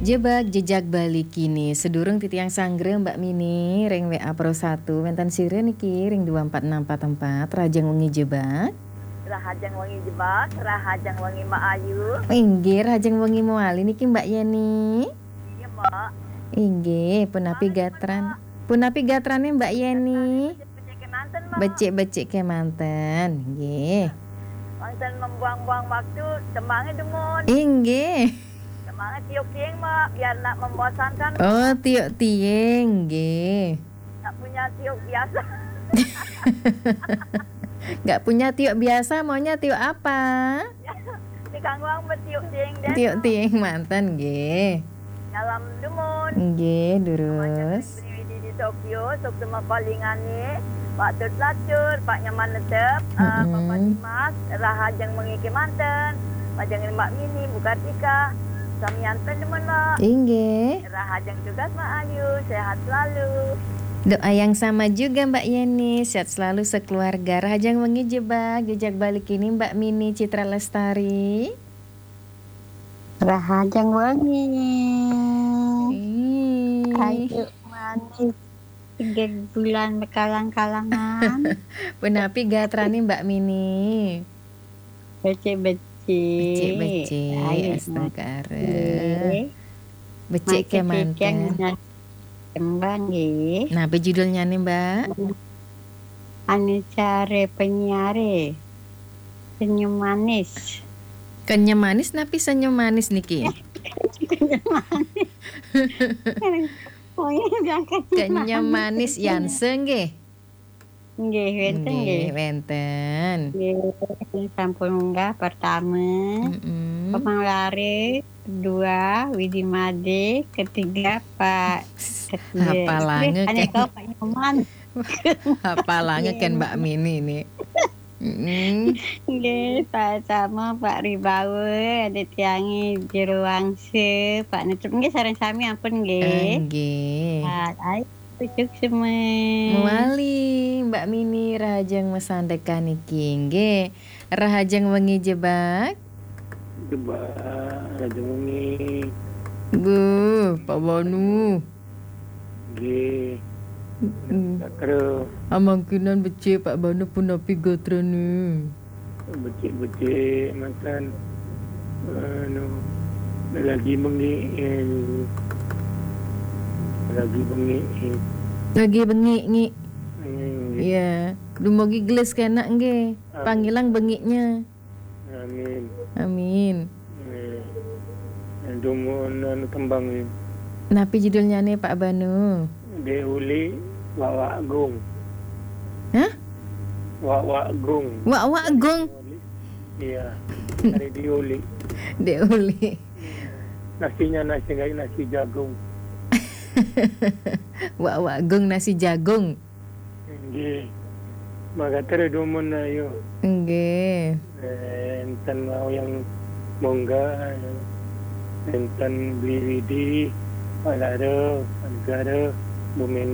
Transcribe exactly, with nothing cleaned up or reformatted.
Jebak jejak Bali kini. Sedurung titiang sanggra Mbak Mini ring W A Pro satu, wénten sira niki ring dua empat enam empat empat, rahajeng wengi jebak. Rahajeng wengi jebak, rahajeng wengi Mbak Ayu. Inggih, rahajeng wengi mawali niki Mbak Yeni. Iya, Mbak. Inggih, punapi gatran. Punapi gatrane Mbak Yeni? Becik-becik kemanten, Mbak. Becik-becik kemanten, nggih. Wonten membuang-buang waktu, tembange dumun. Inggih. Tembange tiup tiing, Mbak, biar ndak membosankan, Mbak. Oh, tiup tiing, nggih. Nggak punya tiup biasa. Nggak punya tiup biasa, maunya tiup apa? Ini kanggo betiup tiing deh. Tiup tiing manten, nggih. Dalam dumun. Nggih, durus. Beli Widi di Tokyo, sok demak palingane, Pak Tut Lacur, Pak Nyaman Netep, eh, Bapak Dimas, rahajeng wengi kemanten, rahajeng Mbak Mini, Bu Kartika, samian pendemen, Mbak. Inggih. Rahajeng tugas, Mbak Ayu, sehat selalu. Doa yang sama juga, Mbak Yeni, sehat selalu sekeluarga. Rahajeng wengi jebak, jejak Bali kini Mbak Mini Citra Lestari. Rahajeng wengi. Ih. Ayu manis, tiga bulan bekalang-kalangan. Punapi gatrane Mbak Mini? Becik-becik. Becik-becik, ayu, astungkara. Nggih. Becik kemanten. Tembang, nggih. Napa judulnyane, Mbak? Anu care penyiare. Senyum manis. Kenyem manis, napi senyum manis niki? Kenyem manis. Oh, iya, jangan kenyem manis. Kenyem manis Yanse, nggih. Nggih, wenten, nggih, nggih. Wenten. Nggih, sampun munggah pertama. Mm-mm. Pemang Lare, kedua, Widi Made, ketiga, Pak Setia. Hafalange. Nggih, ane kan. Kau Pak Nyoman. Hafalange kan, nggih, Mbak Mini ini. Mm-mm. Nggih, Pak Samo, Pak Ribawa, ada tiangi Jero Wangsa, Pak Netup. Nggih, sareng sami ampun, nggih. Eh, nggih. Pak, ayo. Suksma. Mawali, Mbak Mini, rahajeng masandekan niki, nggih. Rahajeng wengi jebak. Jebak, rahajeng wengi. Nggih, Pak Banu. Nggih. Mm-mm. Gatra. Amangkinan becik, Pak Banu, punapi gatrane? Becik-becik manten, anu, lagi bengi, eh, lagi bengi, eh. Lagi bengi, ngi. Hmm. Iya. Dumugi gelis kenak, nggih. Amin. Pangilang bengiknya. Amin. Amin. Eh, dumun anu tembang, eh. Napi judulnyane, Pak Banu? Dek Uli, Wak Wak Gung. Hah? Wak Wak Gung. Wak Wak Gung. Iya. Dari Diuli. Diuli. Nasinya nasi, nggak nasi jagung. Wak Wak Gung nasi jagung. Nggih. Maka terus dumun ayo. Nggih. Eh, enten mau yang mongga, enten Beli Widi, Pak Lare, Pak Negara, Bu Meni.